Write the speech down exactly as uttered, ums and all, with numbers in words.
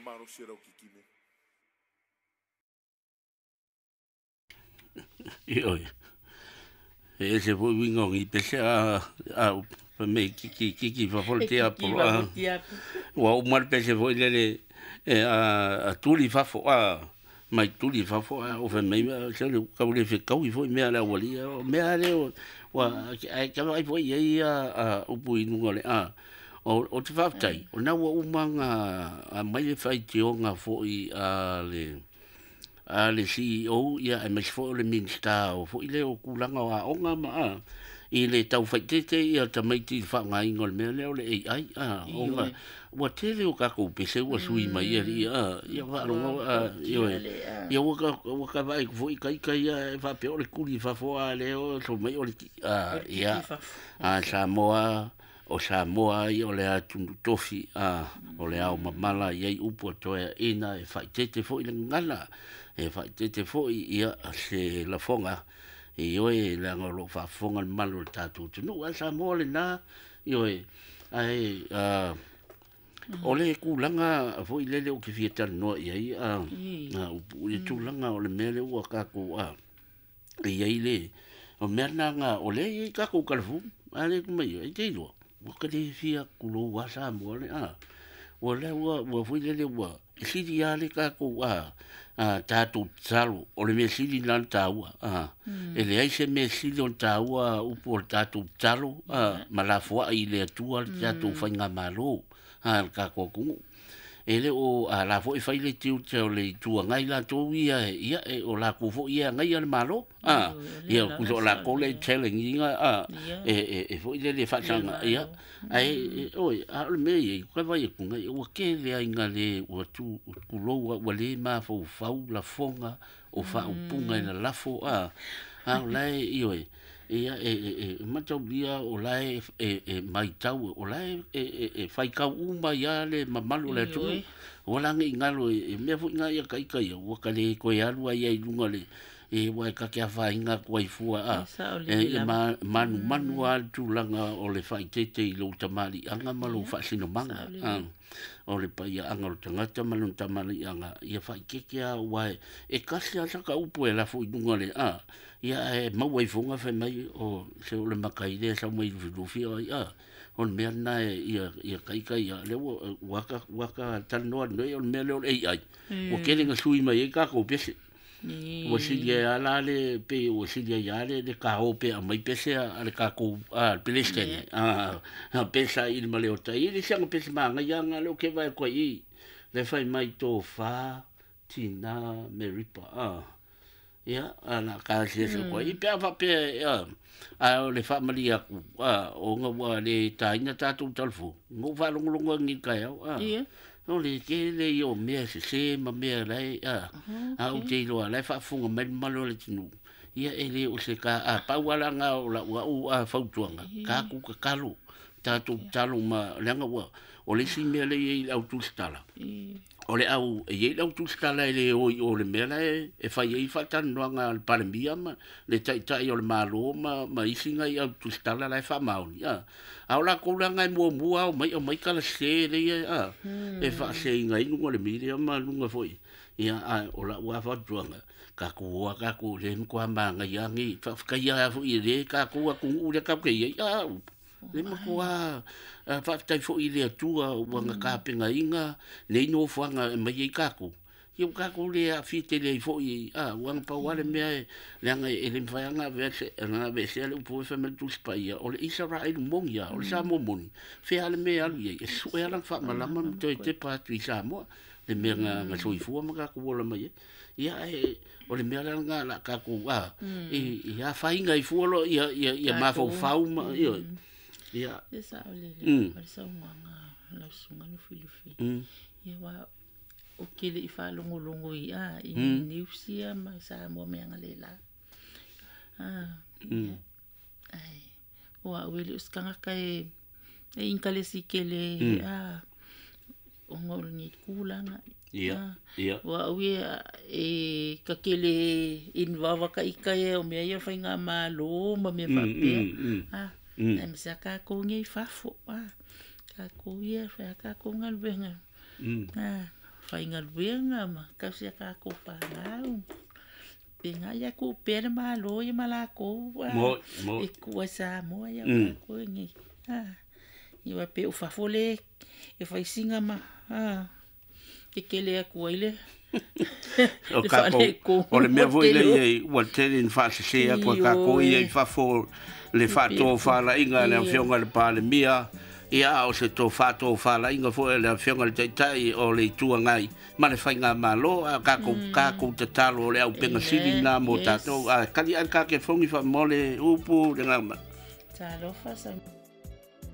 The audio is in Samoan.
malosi e lau kikime. Ioe. E ese foi uiga o ni pese a a fai mai kiki kiki fafo le E tiapo kiki a fafo tiapo. Ua uma le pese foi lele e a a tuli fafo a mai tuli fafo a o fai mai se le kau le fekaui foi mea le aualii o mea lea ua ae kava ai foi i ai ia a upu i luga o le a o o te faafetai o lena ua uma ona aumai le faitioga foi a le a le C E O ia aemaise foi o le Minisita o foi lea o tulaga o aoga ma a i le taufaitete ia tamaiti i le faaaogaina o le mea lea o le A I a ona ua tele o tatou pese ua sui mai alii a ia faalogo a ioe ia ua ka ua ka vaai foi ita ia e faapea o le tuli i fafo a lea o so mai o le a ia a Samoa o Samoa ia o le atunuu tofi a o le ao mamala i ai upu a toeaina e faitete foi le gagana e faitete foi ia se lafoga ioe leaga o loo faafofoga le mamalu o le tatou atunuu ae Samoa lena ioe ae a o le tulaga foi lele ou te fia talanoa i ai a upu i le tulaga o le mea lea ua tatou a e i ai le o mea lena o lea e i ai tatou telefoni a le mai ai te iloa ua ka le fia kulou a Samoa le a ua lea ua ua foi lele ua e sili lava le tatou a a tatou tatalo o le mea sili lena ona taua a e leai se mea sili ona taua upu o le tatou tatalo a ma lafoai i le Atua le tatou faigamalo a le tatou atunuu e le o a la foi fai le tiute o le Itu Agai latou ia ia e o latou foi ia agaia le Malo a ia kuso latou le challenge ina a e e e foi lele faasaga ia ae oi a o le mea ia ka vai atu ngai ua tele ai na le ua tu kulou ua le mafaufau lafoga o faaupuga i lalafo a a o lae ioe ia e e e mataulia o lae e e maitau o lae e e e faitau uma ia le mamalu o le atunuu ua lagi i galo e mea foi na ia ita ia ua ka le toe alu ai ai i luga le e ua e ka te afaina atu ai fua a e e ma manumanu lava le tulaga o le faaitete i lou tamaliiaga ma lou faasinomaga a o le paiaaga o le tagata ma lona tamaliiaga ia faaitete lava ua e e kasi lava saka upu e lafo i luga le a ia ae maua ai foga fai mai o se o le matai lea e sau mai lufilufi ai a o le mea lena e ia ia ita ia lea ua ua ka ua ka talanoa nei o le mea lea o le A I ua tele na sui mai ai tatou pese ua sili ai lava la le pe ua sili ai lava le le kao pe aumai pese a le tatou a le Peresetene a a pesa i le maleota i le siaga pese magaia aga lea ou te vaai atu ai i le fai mai tofa tina Meripa a ia a na kasiasi atu ai pe a faapea a a o le faamalie atu a ona ua le taina tatou telefoni na ou faalogologo agi i le taeao a o le tele ia o mea sese ma mea lae a a ou te iloa la e faafofoga mai le mamalu o le atunuu ia e le o se ka a pau lava la o lau au a fautuaga tatou tatalo tatou tatalo ma leaga ua o le isi mea lea e i ai i le au tusitala o le au e i ai le au tusitala e le o i o le mea la e e fai ai faatalanoaga a le Palemia ma le taitai o le Malo ma ma isi nai au tusitala la e faamaoni a a o latou laga e muamua ao mai aumai talasese lea a e faaseseina ai luga o le media ma luga foi ia a o lau lava fautuaga tatou o a tatou le matua magaia nei faafetaia foi e le tatou atunuu lea tatou te i ai a le matua faafetai foi i le Atua ua na tapenaina nei nofoaga e mai ai tatou ia ua tatou le aafia tele ai foi a ua na pau lava le mea e leaga e le mafai lava ona aveese ona aveesea le upu foi fai mai le Tusi Paia o le Isaraelu moni lava o le Samoa moni fea lava le mea e alu i ai e sue lava lana faamalama ma toe tepa atu i Samoa le mea na na soifua ma tatou ola mai ai ia ae o le mea la lena o le a tatou a i afaina ai fua loa ia ia ia mafaufau ma ia ia E sao lelei o le saunoaga a lau susuga Lufilufi. Ia aua ou te le i faalogologo i a i news ia ma Samoa mea galela. Ah, ia. Ai, o au e le o se tagata e e inkalesi tele a ona o lenei tulaga. Ia, ia. O au ia e ka tele involve ka ika ia o mea ia o faigamalo ma mea faapea. Ah, ae ma se a tatou nei i fafo. Ah, tatou ia, fai a tatou galuega. Ah, Faigaluega ma tausi ia tatou fanau. Pe nga ia ku pea le Malo ia ma lakou a. Mo mo. E kua Samoa ia Mm. tatou nei. A. Ia wa pe o fafo le e faisiga ma a. Kekele atu ai le O le kākou, faaletonu o le mea ua foi tele o. lea i ua tele ina faasese atu a kākou ia i fafo le faatofalaiga a le afioga i le Palemia, ia a o se to faatofalaiga foi a le afioga i le Taitai o le Itu Agai ma le faigamalo a kākou kākou tatalo o le aupega sili Amen. na mo Yes. tātou a kali ai le kāke fogi faamole upu le gama. Talofa sa.